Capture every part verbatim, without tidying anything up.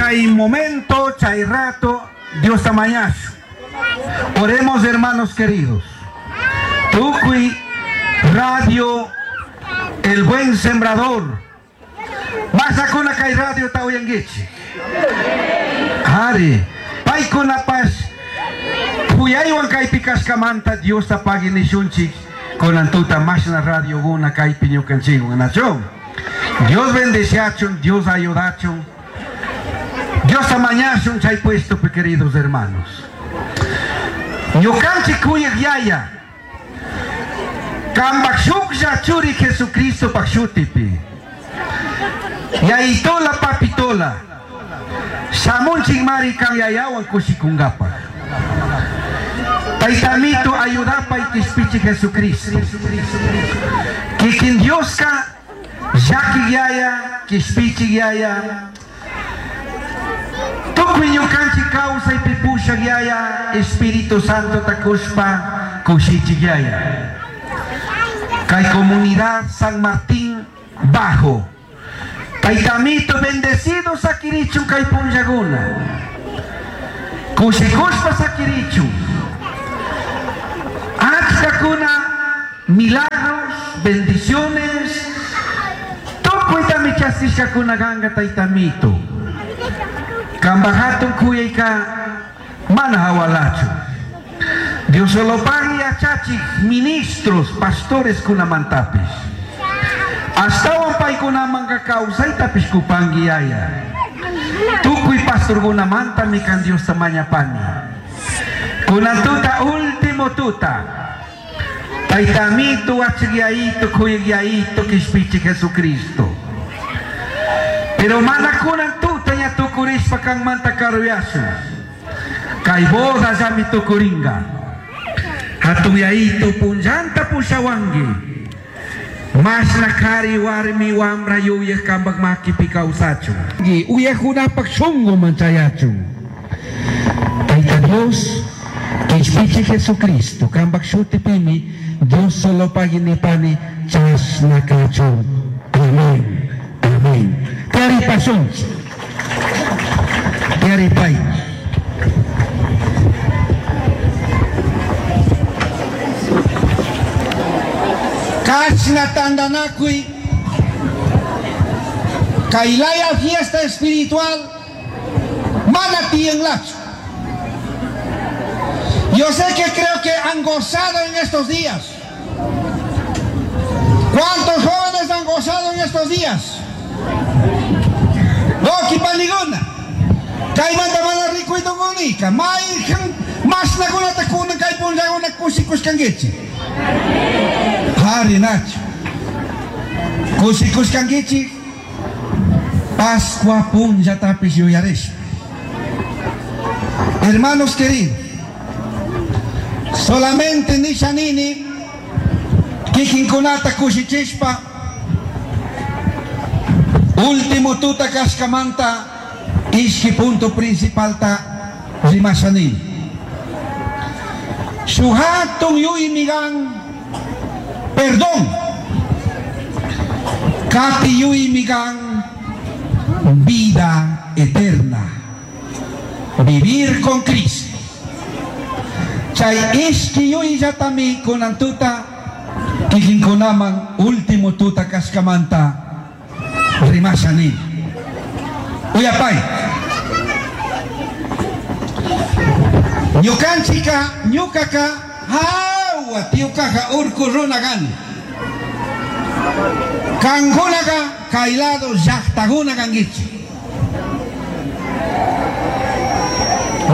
Chay momento, chay rato, Dios mañashu. Oremos, hermanos queridos. Tukuy Radio El Buen Sembrador. Masakuna kay radio ta uyanguichi. Ari, paykunapash kuyaywan kaypi kashkamanta Diosta pagui nishunchik kunan tuta mashna radioguna kaypi ñukanchikwan nachu. Dios bendeciachun, Dios ayudachun. Dios mañashun chay puesto, queridos hermanos. Ñukanchik kuyaq yaya. Kambak shuklla churi Jesucristo pak shutipi. Yayitola papitola. Shamunchik mari kan yayawan kushikungapaj. Taytamito ayudapay kishpichi Jesucristo. Kikin Dioska llaki yaya, kishpichi yaya. Tukuy ñukanchik kawsaypi pushak yaya, Espíritu Santo takushpa kushichik yaya. Kay comunidad San Martín Bajo. Taytamito bendecido sakirichun kay punllakuna. Kushikushpa sakirichun. Achkakuna milagros, bendiciones. Tukuytami chaskishkakuna kanka taytamito. Kambaj hatun kuyayka mana hawalachu. Dios solo pagui yachachik ministros, pastores kunamantapish. Astawan paykunamanka kawsaytapish kupangi yaya. Tukuy pastorkunamantami kan Diosta mañapani. Kunan tuta último tuta. Taytamito achikyaito kuyayito kishpichi Jesucristo. Pero mana kunan tuta ña tukurishpa kanmanta karuyasun. Kay boda llami tukuringa. Hatun yayito punllanta pushawanki. Mashna kari warmi wamra yuyaj kambak makipi kawsachun. Uyajunapak shunguman chayachun. Tayta Dios, kishpichi Jesucristo, kambak shutipimi, Dios solo paginipani chashna kachun. Amén. Amén. Tiyaripasunchik. Tiyaripay. Kashna tandanakuy kaylaya fiesta espiritual mana tiyanlachu. Yo sé que creo que han gozado en estos días. ¿Cuántos jóvenes han gozado en estos días? No, kipaliguna. Kaymanta mana rikuytukunika. Mayqan mashnakunata kunan kay punllakuna kushikushkankichik. Hari nachu. Kushikushkankichik Pascua punllatapish yuyarishpa. Hermanos queridos, solamente nishanini kikinkunata kushichishpa último tuta kashkamanta ishki punto principalta rimashanini. Shuk hatun yuymigan perdón. Kati yuymigan vida eterna. Vivir con Cristo. Chay ishki yuyllatami kunan tuta kikinkunaman último tuta kashkamanta rimashani. Uyapay. Ñukanchika ñukaka hawa tiukaja urku runa gani. Kankunaka kay lado llaqtakuna kankichik.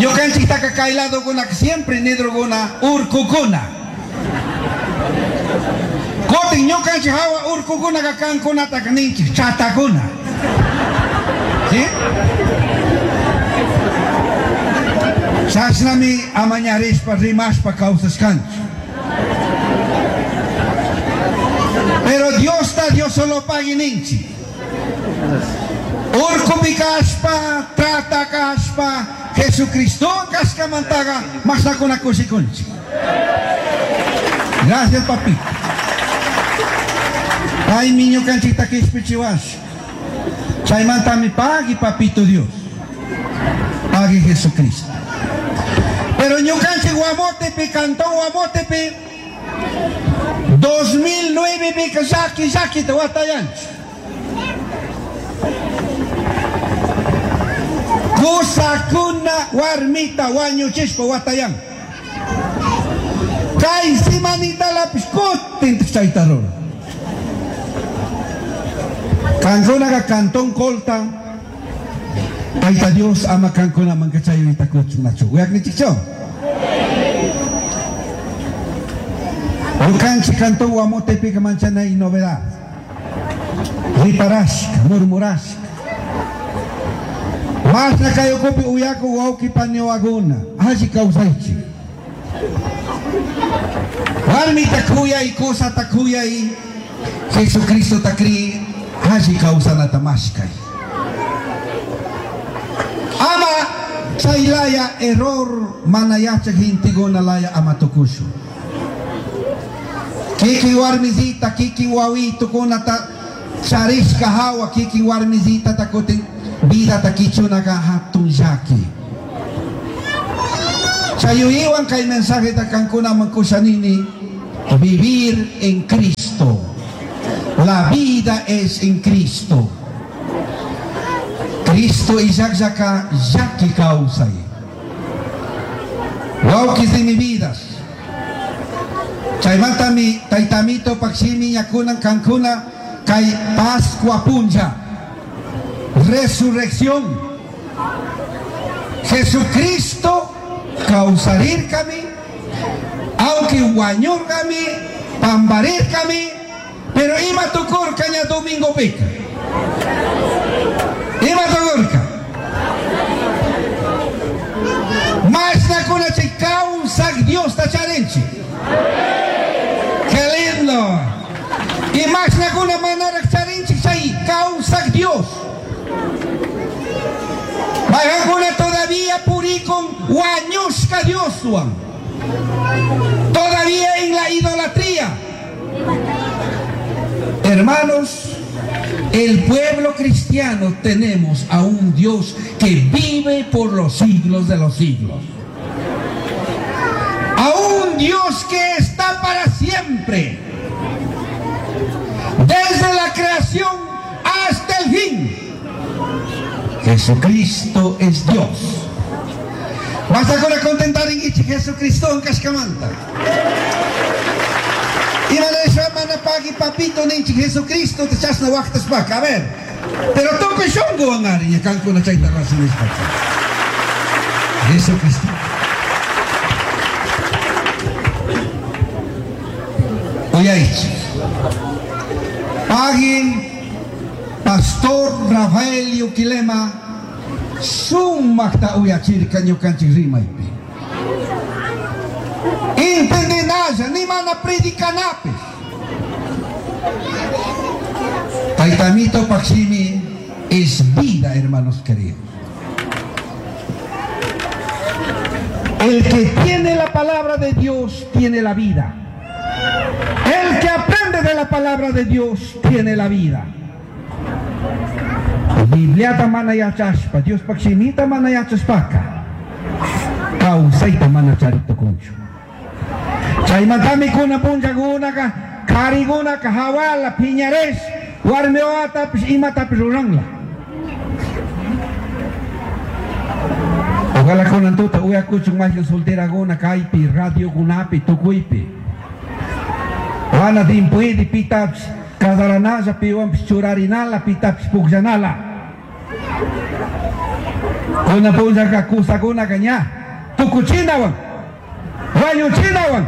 Ñukanchiktaka kay ladokuna siempre nidrukuna urkukuna. Kutin ñukanchik hawa urkukunaka kankunataka ninchik chatakuna. ¿Sí? Chashnami amañarishpa rimashpa kawsashkanchik. Pero Diosta Dios solo pagui ninchik. Urkupi kashpa, trata kashpa, Jesucristo kashkamantaga mashnakuna kushikunchik. Gracias, papito. Paymi ñukanchikta kishpichiwash. Chaymantami pagui, papito Dios. Pagui Jesucristo. Pero ñukanchik Guamotepi, Cantón Guamotepi, dos mil nueve pika llaki llakita watayanchik. Kusakuna warmita wañuchishpa watayan. Kay simanitalapish kutin chayta ruran. Kankunaqa Cantón Colta, Tayta Dios ama kankunaman kachayuyta kuchun nachu. Uyaknichikchu? Ñukanchik Cantón Guamotepika manchanay novedad. Riparashka, murmurashka. Masna kayukupi uyaku wawqi paniwakuna, alli kawsaychik. Warmita kuyay, kusata kuyay, Jesucristota kri, alli kawsanata mashkay. Ama chaylaya error mana yachak genteguna laya ama tukushun. Kikin warmisita, kikin wawitukuna charishka hawa, kikin warmisita takutin vida takichunaka hatun llaki. Chayuiwan kay mensaje takankuna mankushanini, vivir en Cristo. La vida es en Cristo. Cristo y llaka llaki kawsay. Wawkis de mi vidas. Chaymantami taytamito pakshimi ñakunan kankuna kay Pascua punlla. Resurrección. Jesucristo kawsarirkami, aunque wañurkami, pambarirkami, pero ima tukurka ña domingo pika. Ima tukurka. Mashnakuna chay kawsak Dios ta charinchik. Qué lindo. Y mashnakuna manaraq charinchik chay kawsak Dios. Mayqankuna todavía purikun wañushka Dioswan. Todavía en la idolatría. Hermanos, el pueblo cristiano tenemos a un Dios que vive por los siglos de los siglos. A un Dios que está para siempre. Desde la creación hasta el fin. Jesucristo es Dios. Basta con contentar en Jesucristo en Cascamanta. Y mana pagi papito ninchi Jesucristo te chasna waqtas pa. A ver. Pero tukuy shungu angari ya kankuna chayta rasinispa. Jesucristo. Uyaychi. Pagi Pastor Rafael Yuquilema sumaqta uyachirka ñukanchik rimaypi. Entendinalla, ni mana predicanapis. Taytamito Paximi es vida, hermanos queridos. El que tiene la palabra de Dios tiene la vida. El que aprende de la palabra de Dios tiene la vida. Bibliata mana yachashpa, Dios Paximita mana yachashpaka, kawsayta mana charitukunchu. Chaymantami kuna punllakunaka, karikunaka, hawala, piñares, warmiwatapish, imatapish ruranla. Ojalá kunan tuta uyakuchun mayqin solterakuna kaypi, radiokunapi, tukuypi. Wana timpuidi pitapish kasaranalla, piwanpish churarinala, pitapish pukllanala. Kuna punllaka kusakunaka ña tukuchinawan, wañuchinawan.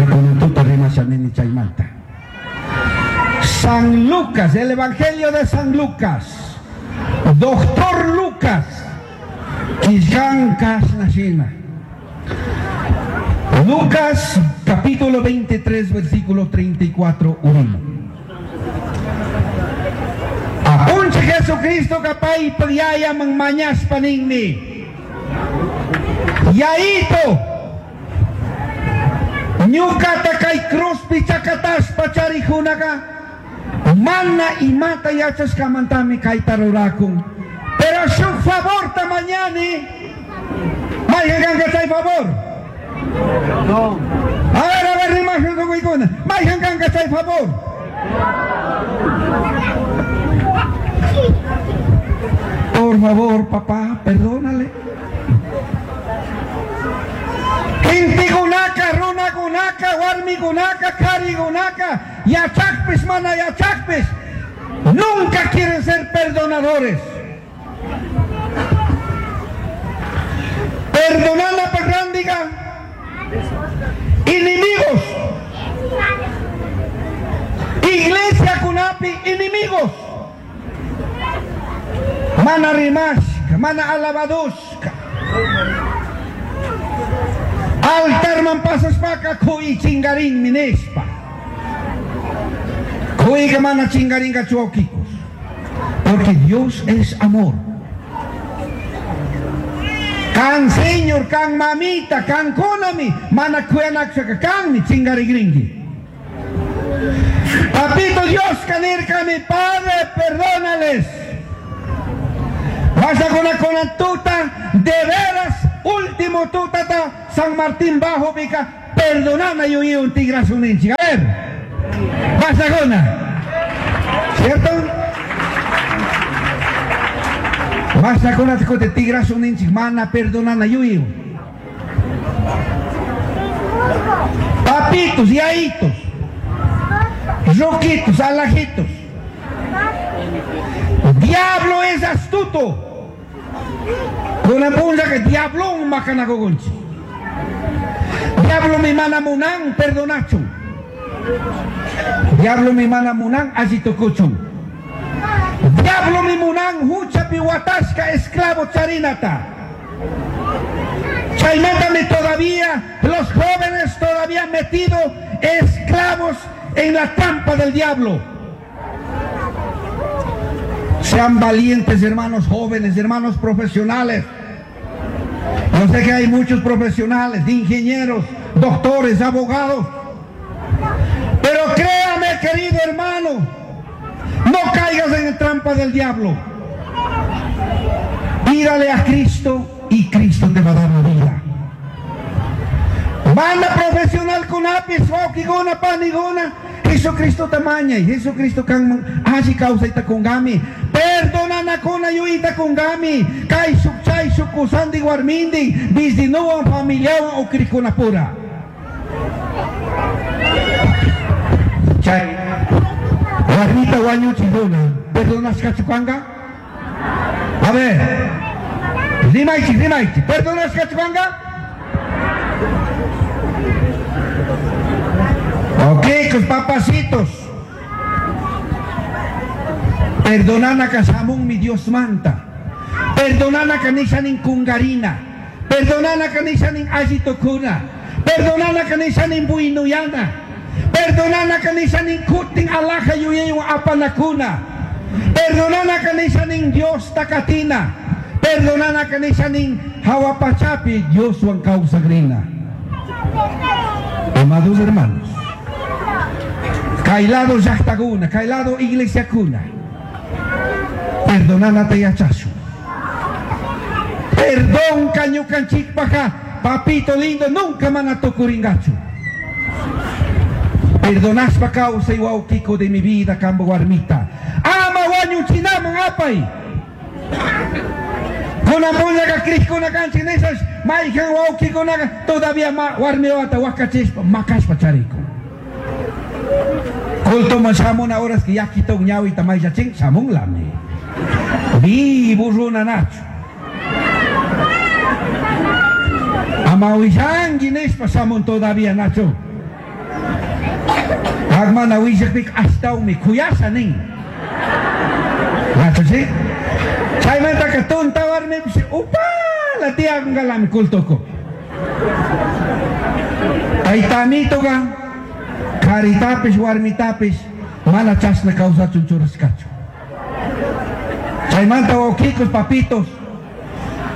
Kunan tuta rimashanini chaymanta. San Lucas, el Evangelio de San Lucas, Doctor Lucas, Quillán Kasnashina. Lucas capítulo veintitrés, versículo treinta y cuatro, uno. Apunche Jesucristo kapay pagyaya mang mañas paningni. Yaito ñukata kay cruzpi chakataspa charijunaka mana imata yachashkamantami kayta rurakun. Pero Pero shuk favor ta mañani. Mayhan kanka chay favor. No. A ver, a ver, rimashun tukuykuna. Mayhan kanka chay favor. Por favor, papá, perdónale. Kintikunaka, runakunaka, warmikunaka, karikunaka, yachakpis, mana yachakpis, nunca quieren ser perdonadores. Perdonana pagrandiga, enemigos. Iglesia kunapi, enemigos. Mana rimashka, mana alabadushka. Altarman pasashpaka kuy chingarin mineshpa. Kuyga mana chingaringa chuaukikos. Porque Dios es amor. Kan señor, kan mamita, kan konami, mana kuyanakshaka kanmi chingarigringi. Papito Dios, kanirka mi padre, perdónales. Vas a con la tuta, de veras, último tutata, San Martín Bajo, pica, perdoname yo y un tigrazo un hinchi. A ver, vas a con ¿cierto? Vas a con la tigrazo un hinchi, mana, perdonana yo y papitos, yaitos, roquitos, alajitos. Diablo es astuto. Con la punta que diablo un macanagogonchi. Diablo mi mana munan perdonacho. Diablo mi mana munan asitocochon. Diablo mi munan hucha pihuatasca esclavo charinata. Chaimátame todavía, los jóvenes todavía metidos esclavos en la trampa del diablo. Sean valientes, hermanos jóvenes, hermanos profesionales. Yo sé que hay muchos profesionales, ingenieros, doctores, abogados. Pero créame, querido hermano, no caigas en la trampa del diablo. Pídale a Cristo y Cristo te va a dar la vida. Banda profesional con apis, gona, panigona. Jesucristo tamaña y Jesucristo kan aji causa ita kongami. Perdonana kona yuita kongami. Kai suk chay sukusandi warmindi. Bizinuan familiawan o krikuna pura. Chay. Warmita wañuchi dona. Perdonas kachukanga? A ver. Rimaichi, rimaichi. Perdonas kachukanga? Ok, con papacitos. Perdonana kasamón mi Dios manta. Perdonana kanishanin kungarina. Perdonana kanishanin ajitokuna. Perdonana kanishanin buinuyana. Perdonana kanishanin kutin alaja yuyeyo apanakuna. Perdonana kanishanin Dios takatina. Perdonana kanishanin hawapachapi Dios wan causagrina. Amados hermanos. Kailado llaqtakuna, kailado iglesiakuna. Perdonánate yachasu. Perdón kañukanchikpaja, papito lindo, nunca manatokuringachu. Perdonaspa causa y wauquico de mi vida, cambo warmita. Ama wañuchinaman apay. Kunapuñaka krishkuna kanchinesas, mayhan wauquikunaqa todavía ma warmiwata wakachispa, makaspa chariko. Kulto man samuna horas que ya quitó un ñawita mayachín, samun lame. Vivo runa nacho. Amawishangi nespa samun todavía nacho. Agmana wishakpik hasta umi kuyasa nin. Nacho sí. Chaymanta que tonta warmi upa la tía galami kultoko. Taytamitoga karitapis warmitapis mana chasna kawsachun churashkachu. Chaymanta wawkikos papitos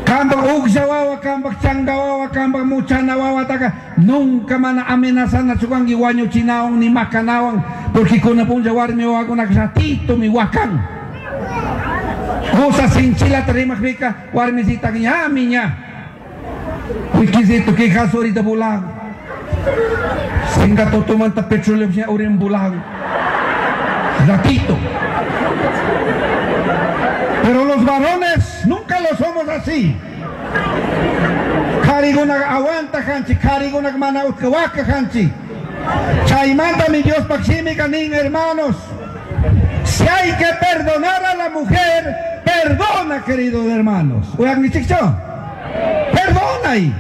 kambak uksha wawa, kambak changa wawa, kambak muchana wawa taka nunca mana amenazana chukanki wañuchinawan ni makanawan porque kuna punlla warmi wawakunaka ratito mi wakan. Kusa sinchilata rimajpika warmisitaka ñami ña. Wikisito quejazo ahorita volan. Singa totomanta petróleo ña uren volan. Ratito. Pero los varones nunca lo somos así. Kariguna aguanta hanchi, kariguna mana waka hanchi. Chaymanta mi Dios shimika nin hermanos. Si hay que perdonar a la mujer, perdona, queridos hermanos. Oigan, Perdona ahí.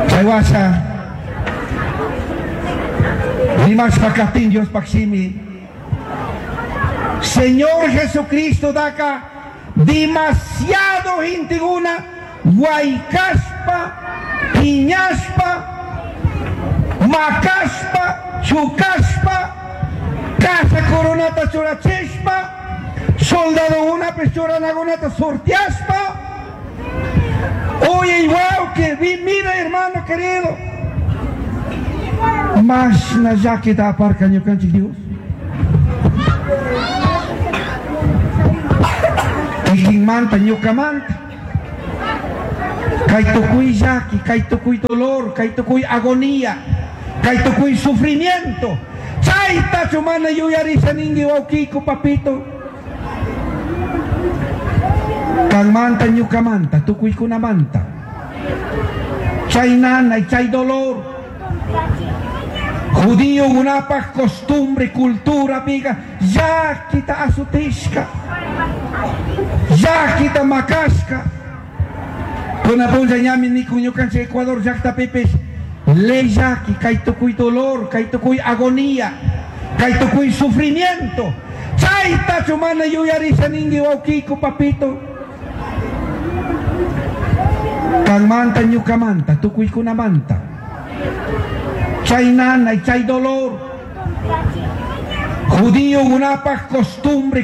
Chaywasha. Rimashpa katin Dios shimi. Señor Jesucristo daka demasiado intiguna guaycaspa, piñaspa, macaspa, chucaspa, casa coronata churachishpa, soldado una pechuranagunata sorteaspa. Oye, igual que vi, mira hermano querido. Mas na llakita aparka ñukanchik Dios. Kikinmanta ñukamanta. Kay tukuy llaki, kay tukuy dolor, kay tukuy agonía, kay tukuy sufrimiento. Chaytachu mana yuyarisha ninki wawkiku papito. Kanmanta ñukamanta, tukuykunamanta. Chay nanay, chay dolor. Judío unapaj costumbre, cultura, amiga, llakita azutishka, llakita makashka. Kuna punlla ñami nikun ñukanchik Ecuador llaqtapipis ley llaki, kay tukuy dolor, kay tukuy agonía, kay tukuy sufrimiento. Chaytachu mana yuyarisha ninki wawkiku papito. Kanmanta ñukamanta, tukuykunamanta. Chay nanay, chay dolor. Judío unapaj costumbre,